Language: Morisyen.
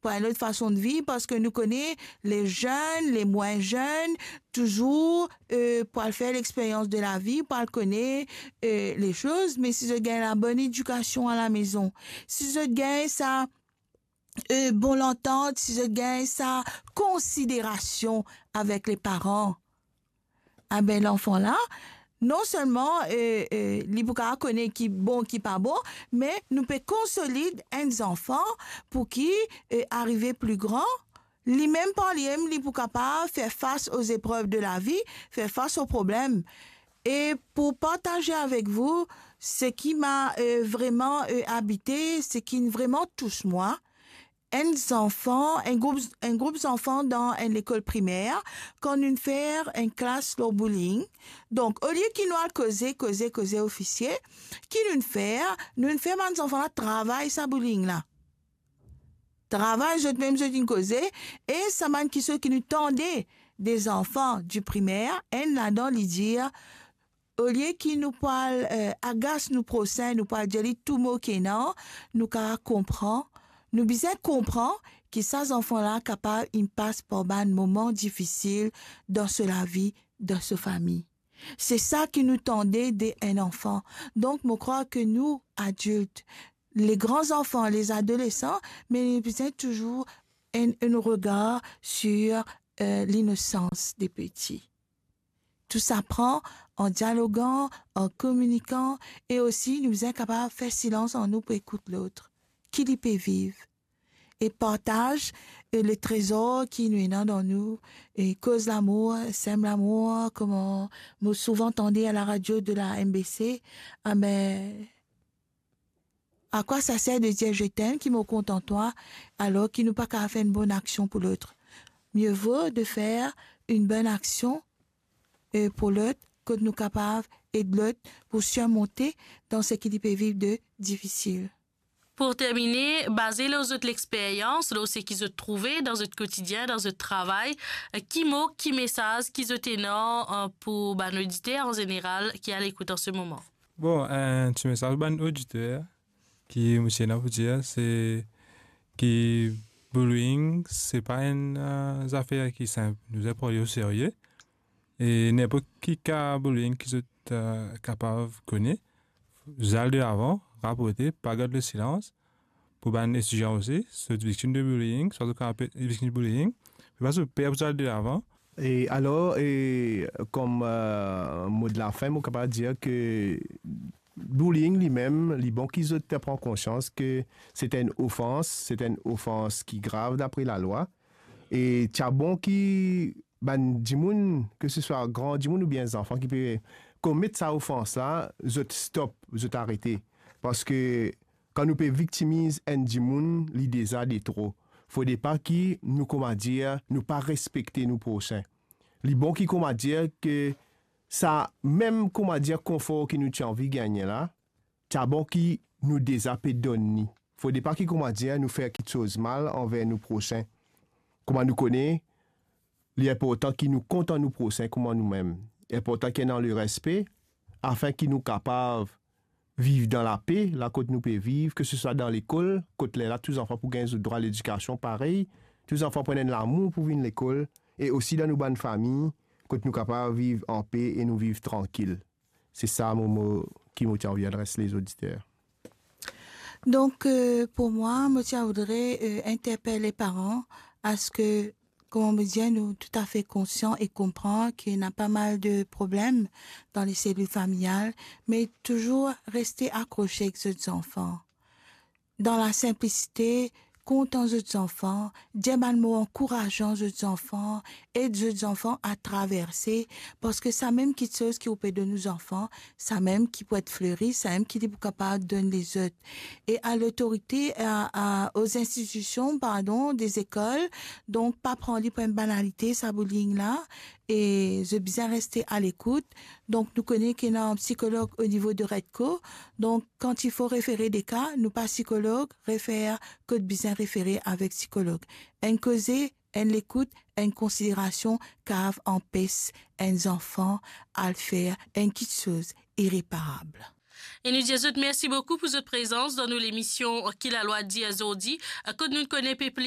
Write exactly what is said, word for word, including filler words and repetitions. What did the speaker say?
pou enn lot fason de viv, parski nou kone, le zenn, le mwin zenn, touzour, eh, pou al fer lexperyans de lavi, pou al kone, eh, le soz, me si zot gagn labonn edikasion alamezon, si zot gagn sa, eh, bon lantant, si zot gagn sa konsiderasion avek le paran, abe, lanfan la, non selman, eh, eh, li pou kapav kone ki bon, ki pa bon, me nou pe konsolid enn zanfan pou ki, eh, arive pli gran, limem par limem, li pou kapav fer fas o zeprev de lavi, fer fas o problem. E pou partaze avek vou, seki ma, eh, vreman, eh, abite, seki vreman tous mwa, enn zanfan, enn group, enn group zanfan dan enn lekol primer, kan nou fer enn klas lor bullying. Donk, olie ki nou al koze, koze, koze ofisie, ki nou fer, nou fer bann zanfan la travay sa bullying la. Travay zot mem, zot inn koze, e sa bann kisoz ki nou tande de zanfan di primer, enn ladan li dir, olie ki nou pou al, eh, agas nou prosin, nou pou al dir li tou mo ki ena, nou kapav konpran, nou bizin konpran ki sa zanfan la kapav inn pas par bann moman difisil dan so lavi, dan so fami. Se sa ki nou tande de enn anfan. Donk, mo krwar ke nou, adilt, le gran zanfan, le adolesan, me nou bizin touzour enn, enn regar sir, eh, linosans de peti. Tou sa pran an dialogan, an kominikan, e osi nou bizin kapav fer silans an nou pou ekout lot, ki li pe viv, e partaz, eh, le trezor ki nou ena dan nou, e koz lamour, sem lamour, kouma mo souvan tande a la radio de la M B C, ah ben, à quoi ça sert de dire je t'aime ki mo kontan twa, alor ki nou pa kapav fer enn bonn aksion pou lot? Mieux vaut de faire une bonne action, eh, pou lot, kot nou kapav ed lot pou sirmonte dan seki li pe viv de difisil. Pou termine, baze lor zot lexperyans, lor seki zot trouve dan zot kotidien, dan zot travay, eh, ki mo, ki mesaz ki zot ena, eh, pou bann oditer an zeneral ki al ekout an se moman? Bon, enn ti mesaz bann oditer ki mo ti ena pou dir, se ki bullying, se pa enn, eh, zafer ki sinp. Nou bizin pran li o serye. E ninport ki ka bullying ki zot, eh, kapav kone, zot al delavan, raporte, pa gard lesilans. Pou bann etidian osi, zot viktim de bullying, swa zot kapav pe-, viktim de bullying, pe pa zot per pou zot al delavan. E alor, e, kom, eh, mo de lafin, mo kapav dir ke bullying limem, li bon ki zot pran konsians ke se enn ofans, se enn ofans ki grav dapre lalwa. E ti a bon ki bann dimoun, ke se swa gran dimoun oubien zanfan ki pe komet sa ofans la, zot stop, zot arete. Parski kan nou pe viktimiz enn dimoun, li deza de tro. Fode pa ki nou, kouma dir, nou pa respekte nou prosin. Li bon ki, kouma dir, ke sa mem, kouma dir, konfor ki nou ti anvi gagne la, ti a bon ki nou deza pe donn li. Fode pa ki, kouma dir, nou fer kiksoz mal anver nou prosin. Kouma nou kone, li inportan ki nou kontan nou prosin kouma noumem. Inportan ki ena lerespe, afin ki nou kapav viv dan lape, la kot nou pe viv, ke se swa dan lekol, kot lerla tou zanfan pou gagn zot drwa ledikasion parey, tou zanfan pou ena enn lamour pou vinn lekol, e osi dan nou bann fami, kot nou kapav viv anpe e nou viv trankil. Se sa mo, mo ki mo ti anvi adres lezoditer. Donk, eh, pou mwa, mo ti a voudre, eh, interpel le paran, aske, kouma mo dir, nou toutafe konsian e konpran ki ena pa mal de problem dan le selil familial, me touzour reste akrose ek zot zanfan. Dan lasinplisite, kontan zot zanfan, dir bann mo ankourazan zot zanfan, ed zot zanfan a traverse, parski samem kiksoz ki ou pe donn ou zanfan, samem ki pou et fleri, samem ki li pou kapav donn lezot. E a lotorite, a, a, aux institutions, pardon, des écoles, donk pa pran li pou enn banalite, sa bullying la, e zot bizin reste a lekout. Donk nou kone ki ena psikolog o nivo de Redco, donk kan ti fo refere de ka, nou pa psikolog, refer kot bizin refere avek psikolog. Enn koze, enn lekout, enn konsiderasion kav anpes enn zanfan al fer enn kiksoz ireparab. E nou dir zot mersi boukou pou zot prezans dan nou lemision Ki Lalwa Dir Zordi, kot nou kone pe plis